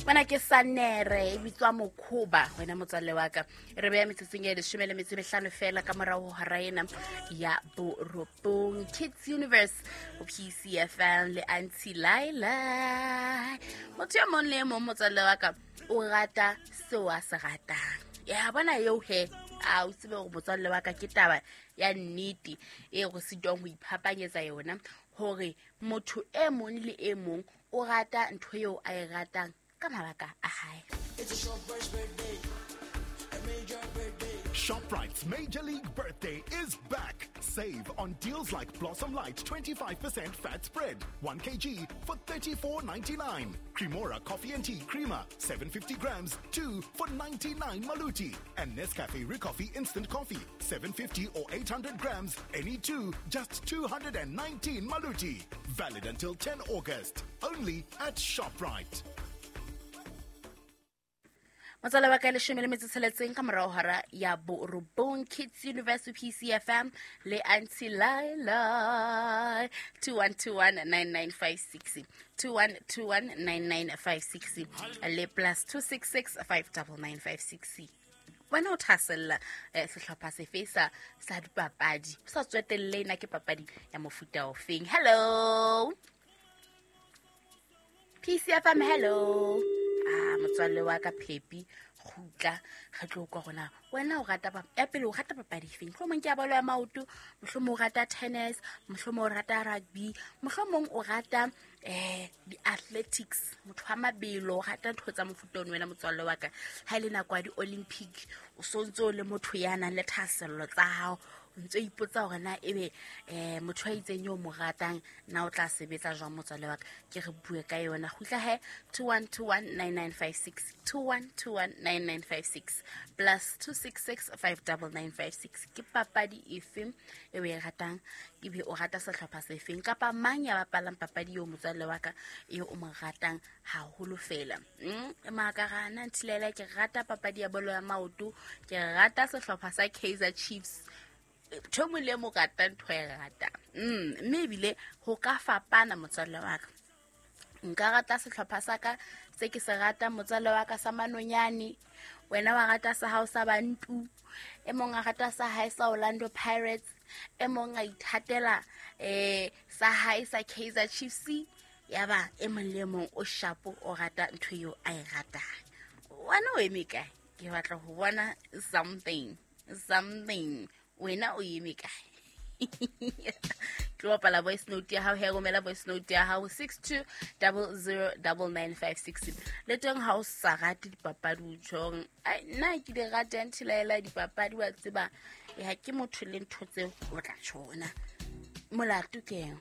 Mona ke sanere e bitswa mokhoba, wena motswalle wa ka. Re beya metsotsong e 15 fela ka morago hora ena ya borobong. Kids Universe go PCFM le Auntie Laila. Motho yo mong le e mong, motswalle wa ka, o rata seo a se ratang. Ya bona eo he, a o tsebe gore motswalle wa ka ke taba ya nnete e go sitwang go iphapanyetsa yona, gore motho e mong le e mong o rata ntho eo a e ratang ka mabaka a hae. ShopRite's Major League Birthday is back. Save on deals like Blossom Light 25% fat spread, 1 kg for 34.99. Cremora Coffee and Tea Creamer, 750 grams, 2 for 99 Maluti. And Nescafe Ricoffee Instant Coffee, 750 or 800 grams, any two, just 219 Maluti. Valid until 10 August. Only at ShopRite. Motswala wa ka, 16 ka morago hora ya borobong. Kids University, PCFM le Auntie Laila. 21219956, 21219956 le +266 59956. Wena o thasella sehlopha sefe sa dipapadi, o sa tswetelle na ke papadi ya mofuta ofeng? Hello, PCFM, hello. A motswalle wa ka Phepi, kgutla re tlo kwa gona. Wena o rata ya pele, o rata papadi efeng? Mohlomong ke ya bolo ya maoto, mohlomong o rata tennis, mohlomong o rata rugby, mohlomong o rata di-athletics, motho wa mabelo, o rata ntho tsa mofuta ono. Wena motswalle wa ka, ha e le nako ya di-Olympic, o so ntse o le motho ya nang le thahasello tsa hao, o ntse o ipotsa hore na ebe motho a itseng eo mo ratang na o tla sebetsa jwang. Motswalle wa ka, ke re bue ka yona. Kgutla he, 21219956, 21219956, +266 59956. Ke papadi efe e o e ratang, ebe o rata sehlopha sefeng, kapa mang ya bapalang papadi eo, motswalle wa ka, eo o mo ratang haholo fela? Makarana Ntilela, ke rata papadi ya bolo ya maoto, ke rata sehlopha sa Kaizer Chiefs. Ntho e mong le e mong rata ntho e ratang, mme ebile ho ka fapana, motswalle wa ka. Nka rata sehlopha sa ka se ke se ratang, motswalle wa ka, sa Manonyane. Wena wa rata sa hao sa Bantu, e mong a rata sa hae sa Orlando Pirates, e mong a ithatela sa hae sa Kaizer Chiefs. Ya ba e mong le e mong o shapo, o rata ntho eo a e ratang. Wena o eme kae? Ke batla ho bona something something. Wena o eme kae? Tlo bapala voice note ya hao he. Romela voice note ya hao 62009956. Le teng ha o sa rate dipapadi, o tjhong, ai, nna ke di rata nthilaela dipapadi, wa tseba ya ke motho le ntho tseo, o tla tjhona molato keng?